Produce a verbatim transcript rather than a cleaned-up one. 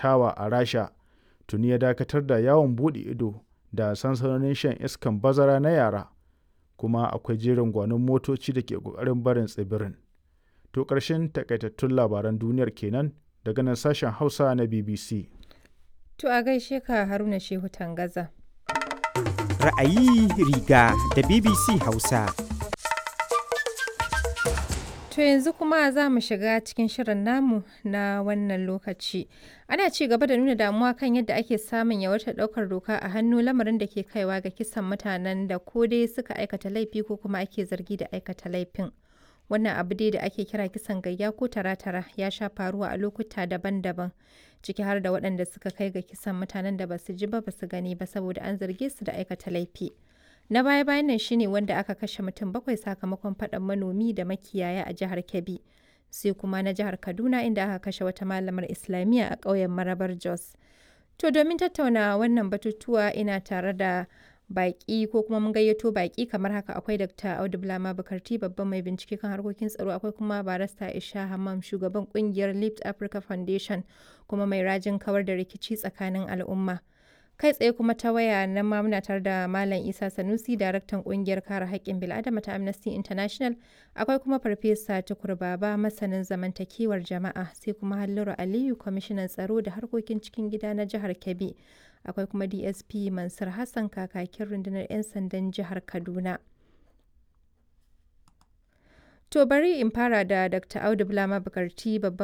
shakatawa a Rasha tuni ya dakatar da yawon buɗe ido da sansanonin shan iskan bazara na yara, kuma akwai jerin gwanon motoci da ke ƙoƙarin barin tsibirin. To ƙarshen takaitattun labaran duniyar kenan daga nan sashen Hausa na B B C. To a gaishe ka, Haruna Shehu Tangaza. Ra'ayi riga da B B C Hausa. To yanzu kuma za mu shiga cikin shirin namu na wannan lokaci. Ana ci gaba da nuna damuwa kan yadda ake samun yawaitar ɗaukar doka a hannu, lamarin da ke kaiwa ga kisan mutanen da ko dai suka aikata laifi ko kuma ake zargi da aikata laifin. Wannan abu dai da ake kira kisan gayya ko tara-tara ya sha faruwa a lokuta daban-daban, ciki har da waɗanda suka kai ga kisan mutanen da basu ji ba basu gani ba saboda an zarge su da aikata laifi. Na baya-bayan nan shine wanda aka kashe mutum bakwai sakamakon faɗan manomi da makiyaya a jihar Kebbi. Sai kuma na jihar Kaduna, inda aka kashe wata malamar Islamiyya a ƙauyen Marabar Jos. To domin tattauna wannan batutuwa, ina tare da baƙi ko kuma mun gayyato baƙi kamar haka: akwai Doctor Audu Bulama Bukarti, babban mai bincike kan harkokin tsaro, akwai kuma Barista Isha Hammam, shugaban kungiyar Lift Africa Foundation kuma mai rajin kawar da rikici tsakanin al'umma. Kai tsaye kuma ta waya nan ma muna tare da Malam Isa Sanusi, daraktan kungiyar kare haƙƙin bil'adama ta Amnesty International, akwai kuma Farfesa Tukur Baba, masanin zamantakewar jama'a, sai kuma Halliru Aliyu, kwamishinan tsaro da harkokin cikin gida na jihar Kebbi, akwai kuma D S P Mansur Hassan, kakakin rundunar 'yan sandan jihar Kaduna. To bari in fara da Doctor Audu Bulama Bukarti, babban